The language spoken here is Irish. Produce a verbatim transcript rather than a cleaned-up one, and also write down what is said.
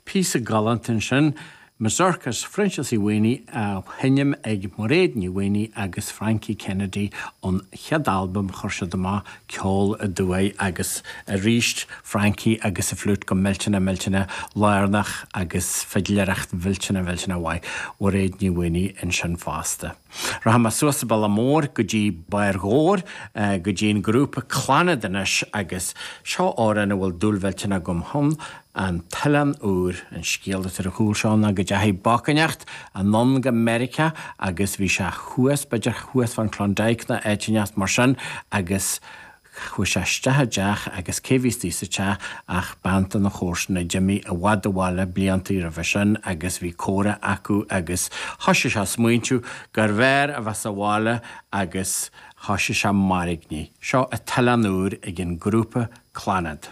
Píosa galánta ansin, Mazurka as Phroinsias Uí Mhaonaigh á sheinm ag Mairéad Ní Mhaonaigh agus Frankie Kennedy ón chéad albam chuir siad amach Ceol Aduaidh agus arís Frankie agus a fliúit go millteanach millteanach lárnach agus fidléireacht mhillteanach mhillteanach mhaith Mhairéad Ní Mhaonaigh ansin fosta. Rachaidh mé suas an bealach mór go dtí Barr Dhobhair go dtí an grúpa Clannad anois agus seo amhrán a bhfuil dúil mhillteanach agam ann, An tOileán Úr, an scéal atá ar chúl seo ná go dteachaigh boc inteacht anonn go Meiriceá agus bhí sé thuas, b'fhéidir thuas fán Klondike nó áit inteacht mar sin agus chuaigh sé isteach i dteach agus cé bhí istigh sa teach ach bean de na chomharsana a d'imigh i bhfad abhaile blianta roimhe sin agus bhí comhrá acu agus thoisigh sé a smaointiú gurbh fhearr a bheith sa bhaile agus thoisigh sé mairgní. Seo An tOileán Úr ag an grúpa Clannad.